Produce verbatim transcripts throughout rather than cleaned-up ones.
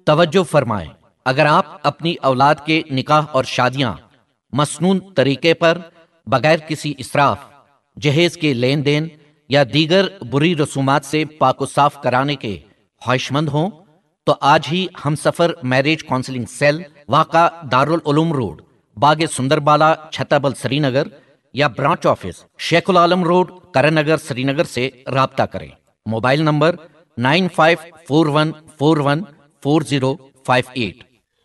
توجہ فرمائیں، اگر آپ اپنی اولاد کے نکاح اور شادیاں مسنون طریقے پر، بغیر کسی اسراف، جہیز کے لین دین یا دیگر بری رسومات سے پاک و صاف کرانے کے خواہش مند ہوں تو آج ہی ہم سفر میرج کاؤنسلنگ سیل، واقع دارالعلوم روڈ، باغ سندر بالا، چھتابل، سری نگر یا branch office, Sheikh ul Alam road, Karan Nagar, Srinagar سے رابطہ کریں۔ Mobile number nine five four one four one four zero five eight.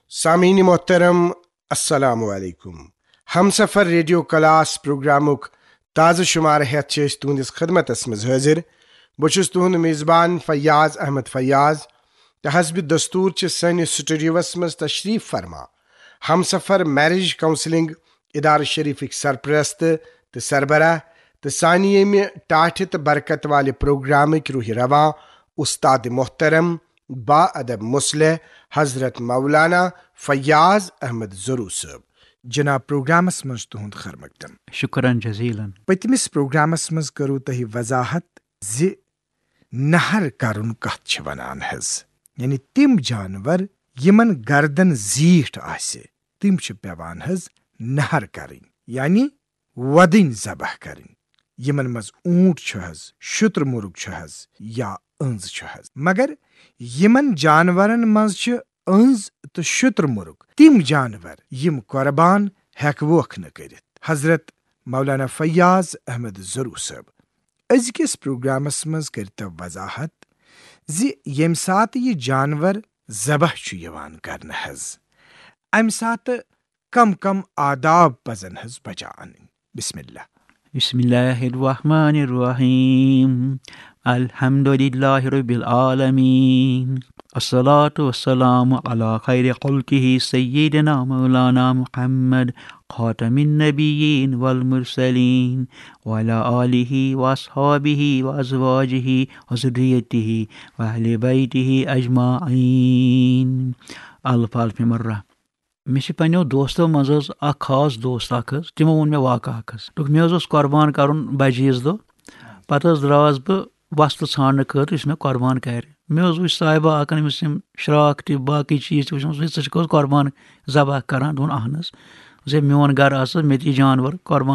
سامعین محترم، السلام علیکم۔ ہمسفر ریڈیو کلاس پروگرامک تازٕ شمارٕ ہیتھ چھِ أسۍ تُہنٛدِس خدمتس منٛز حٲضِر۔ بہٕ چھُس تُہنٛد میزبان فیاض احمد فیاض، تہٕ حسب دستور چھِ سٲنِس سٹوڈیوس منٛز تشریف فرما ہمسفر میرج کاؤنسلنگ ادارٕ شریفٕکۍ سرپرست تہٕ سربراہ، تہٕ سانہِ ییٚمہِ ٹاٹھہِ تہٕ برکت والہِ پروگرامٕکۍ روحہِ رواں استاد محترم، با ادب مصلح، حضرت مولانا فیاض احمد ضرو صٲب۔ جناب، پروگرامس منٛز تُہنٛد خیر مقدم۔ شکرن جزیلن۔ پٔتمِس پروگرامس منٛز کٔرٕو تۄہہِ وضاحت زِ نہر کرُن کتھ چھِ ونان حظ، یعنی تِم جانور یِمن گردن زیٖٹھ آسہِ، تِم چھِ پیوان حظ نہر کرٕنۍ، یعنی وۄدٕنۍ ذبح کرٕنۍ، یِمن منٛز اوٗنٹ چھُ حظ، شُتر مرغ چھُ حظ، یا أنز چھُ حظ۔ مگر یِمن جانورن منٛز چھِ أنز تہٕ شُتر مرغ تِم جانور یِم قربان ہیکوکھ نہٕ کٔرِتھ۔ حضرت مولانا فیاض احمد ضرو صٲب، أزکِس پروگرامس منٛز کٔرتو وضاحت زِ ییٚمہِ ساتہٕ یہِ جانور ذبح چھُ یِوان کرنہٕ حظ، امہِ ساتہٕ کم کم آداب پزن حظ بچا انٕنۍ؟ بسم اللہ۔ بسم اللہ الرحمن الرحیم۔ الحمد للہ رب العالمین۔ الصلاة والسلام على خير خلقه سيدنا مولانا محمد خاتم النبيين والمرسلين وعلى آله وأصحابه وأزواجه وذريته وأهل بيته أجمعين۔ الف الف مرة۔ مےٚ چھِ پننیو دوستو منٛز حظ اکھ خاص دوست اکھ حظ، تِمو ووٚن مےٚ واقعہٕ اکھ حظ۔ دوٚپُکھ، مےٚ حظ اوس قۄربان کرُن بجہِ عیٖذ دۄہ، پتہٕ حظ درٛاس بہٕ وۄستہٕ ژھانڈنہٕ خٲطرٕ یُس مےٚ قۄربان کرِ۔ مےٚ حظ وٕچھ صاحبہ اکھ أمِس یِم شراکھ تہِ باقٕے چیٖز تہِ وٕچھمٕژ، ژٕ چھُکھ حظ قۄربان ذبح کران؟ دوٚپُن، اہن حظ۔ زِ میون گرٕ ہسا مےٚ تہِ جانور قۄربان